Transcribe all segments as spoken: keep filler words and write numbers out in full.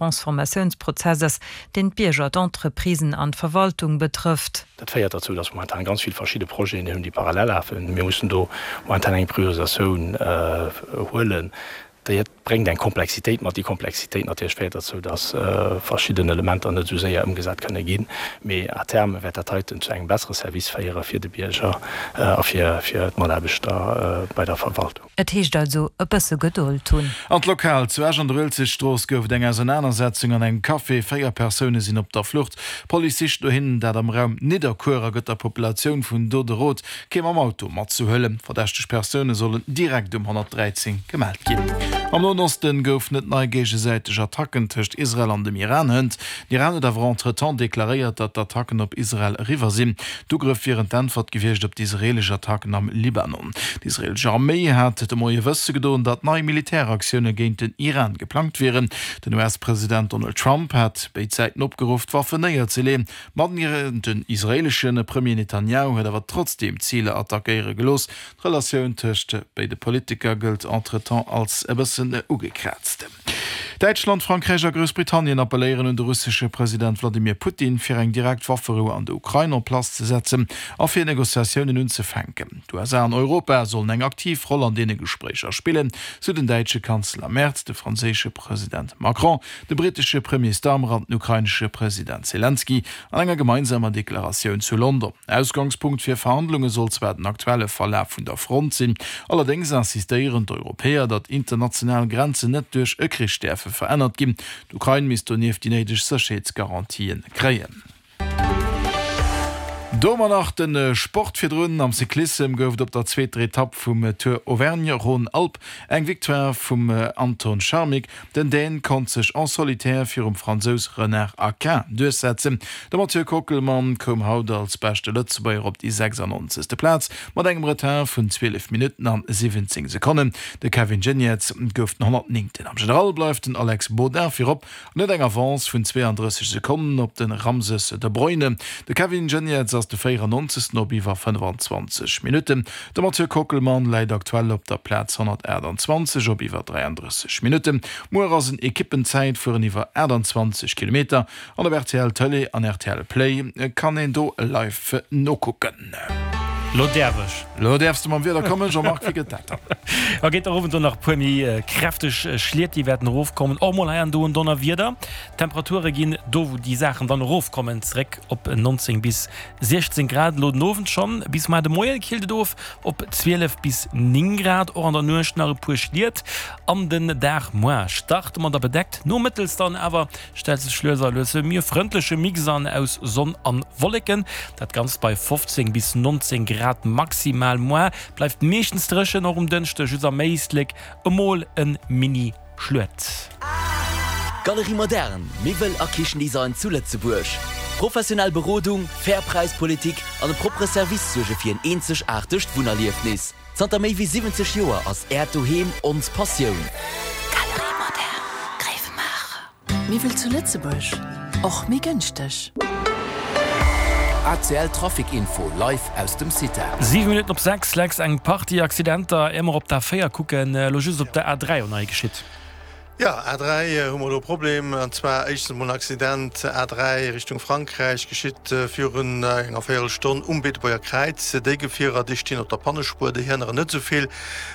Transformatiounsprozess ass, deen d'Bierger, d'Entreprisen an d'Verwaltung betrëfft. Dat féiert derzou, dass momentan ganz vill verschidde Projeten hunn, déi parallel lafen. Mir mussen do momentan eng Priorisatioun huelen. Déi bréngt eng Komplexitéit mat. Déi Komplexitéit natierlech féiert derzou, dass verschidden Elementer net esou séier ëmgesat kënne ginn. Mee à terme wäert dat heiten zu engem bessere Service féiere fir de Bierger a fir d'Mataarbechter bei der Verwaltung. Et heescht also e bësse Gedold hunn. An d'Lokal zu Esch an der Uelzechtstrooss gouf et eng Ausernanersetzung an engem Café. Véier Persoune sinn op der Flucht. D'Police sicht no hinnen, dat am Raum Nidderkuer, a gëtt der Populatioun vun do de Rot, kee mam Auto matzehuelen. Verdächteg Persoune sollen direkt um honnertdräizéng gemellt ginn. Am Noen Osten goufen et nei géigesäiteg Attacken tëscht Israel an dem Iran hënt. Den Iran huet awer entretemps deklaréiert, datt d'Attacken op Israel eriwwer sinn. D'Ugrëff wieren d'Äntwert gewiescht op d'israeelesch Attacken am Libanon. D'israeelesch Arméi hat de Moie wësse gedoen, datt nei Militäraktioune géint den Iran geplangt wieren. Den U S-President Donald Trump hat béid Säiten opgeruff, d'Waffen néierzeleeën. Ma den israeelesche Premier Netanjahu huet awer trotzdeem Ziler attackéiere gelooss. D'Relatioun tëscht béide Politiker gëllt entretemps als e bëssen ugekraazt. Däitschland, Frankräich a Groussbritannien appelléieren un de russesche President Wladimir Putin, fir eng direkt Wafferou an der Ukrain en place ze setzen a fir Negociatiounen unzefänken. D'U S A an Europa sollen eng aktiv Roll an deene Gespréicher spillen, sou den däitsche Kanzler Merz, de franséische President Macron, de brittesche Premier Starmer an den ukrainesche President Selenskyj an enger gemeinsamer Deklaratioun zu London. Ausgangspunkt fir Verhandlunge soll zwar den aktuelle Verlaf vun der Front sinn, allerdéngs insistéieren d'Europäer, datt international Grenzen net duerch e Krich däerfe verännert ginn. D'Ukrain misst donieft déi néideg Sécherheetsgarantien kréien. Domat nach de Sport. Virdrun am Cyclissem gouf et op der zweeter Etapp vum Tour Auvergne-Rhône-Alpes eng Victoire vum Anton Charmig. Den Dän konnt sech en solitaire virum Fransous Renard Aquin duerchsetzen. De Mathieu Kockelmann koum haut als beschte Lëtzebuerger op déi sechsannonzegste Plaz mat engem Retard vun zwielef Minutten an siwwenzéng Sekonnen. De Kevin Geniets gouf den honnertnéngten. Am General bleift den Alex Baudin virop an huet eng Avance vun zweeandrësseg Sekonnen op de Ramses Debruyne. De Kevin Geniets ass de véierannonzegsten op iwwer fënnefenzwanzeg Minutten. De Mathieu Kockelmann läit aktuell op der Plaz honnertaachtanzwanzeg op iwwer dräiandrësseg Minutten. Muer ass en Ekippenzäitfueren iwwer aachtanzwanzeg Kilometer an op R T L Tëlee an R T L Play kann een do live nokucken. Lo däerf ech. Lo däerfs de mam Wieder kommen, Jean-Marc, wéi gëtt dat dann? A geet erof an do nach e puer méi kräfteg Schliet, déi wäerten erofkommen. Och mol hei an do en Donnerwieder. D'Temperature ginn do, wou déi Saachen dann erofkommen, zeréck op neunzéng bis siechzéng Grad elo den Owend schonn. Bis muer de Moie killt et of op zwielef bis néng Grad. Och an der Nuecht nach e puer Schliet. An den Dag muer starte mer da bedeckt, nomëttels dann awer stellt sech lues a lues e méi frëndleche Mix an aus Sonn an Wolleken. Dat Ganzt bei fofzéng bis neunzéng Grad maximal. Muer bleift meeschtens dréchen, och um Dënschdeg just am Éislek emol e Mini-Schluet. Galerie Moderne, Miwwel a Kichendesign zu Lëtzebuerg. Professionell Berodung, fair Präispolitik an e proppere Service suerge fir en eenzegaartegt Wunnerliefnis. Zanter méi wéi siwwenzeg Joer ass Äert Doheem ons Passioun. Galerie Moderne, Gréiwemaacher. Miwwel zu Lëtzebuerg, och méi gënschteg. A C L Trafic Info live aus dem CITA. Siwe Minutten op sechs. Lex, eng Partie Accidenter, ier mer op d'A véier kucken, elo just op der A dräi nei geschitt. Ja, A dräi hu mer do e Problem, an zwar éischtens emol en Accident A dräi Richtung Frankräich, geschitt virun enger Véierelstonn um Beetebuerger Kräiz. Déi Gefierer, déi stinn op der Pannespuer, déi hënneren net esou vill.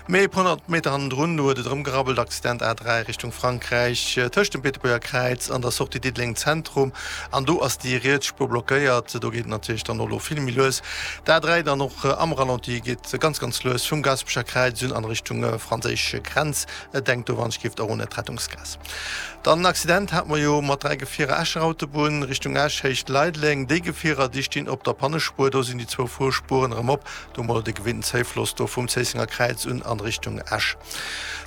Mee e puer honnert Meter hannendrun, do huet et erëm gerabbelt, Accident A dräi Richtung Frankräich tëscht dem Beetebuerger Kräiz an der Sortie Diddeleng Zentrum, an do ass déi riets Spuer blockéiert. Do geet et natierlech dann och elo vill méi lues. D'A dräi dann och am Ralenti, geet ganz, ganz lues vum Gaasperecher Kräiz un an Richtung franséisch Grenz. Denkt do wann ech giff och un d'Rettungsgaass. Dann en Accident hat mer jo mat dräi Gefierer Escher Autobunn Richtung Esch, Héicht Leideleng. Déi Gefierer déi stinn op der Pannespuer, do sinn déi zwou Fuerspueren erëm op. Do hu mer de gewinnten Zéifloss do vum Zéissenger Kräiz un an Richtung Esch.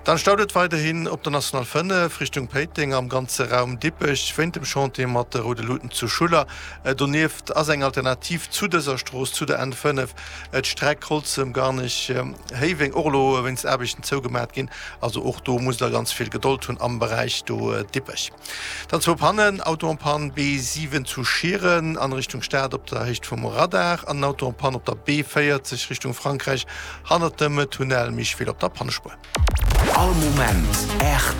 Dann staut et weiderhin op der National fënnef Richtung Péiteng am ganze Raum Dippech wéint dem Chantier mat de roude Luuten zu Schuller. Donieft ass eng Alternativ zu dëser Strooss, zu der N fënnef, d'Streck Holzem, Garnech, Héiweng och elo wéinst Aarbechten zougemat ginn. Also och do musst der ganz vill Gedold hunn am Beräich do Dippech. Dann zwou Pannen, Auto en panne B siwen zu Schieren an Richtung Stad op der Héicht vum Radar an en Auto en panne op der B véierzeg Richtung Frankräich hannert dem Tunnel Micheville op der Pannespuer. All Moment R T L.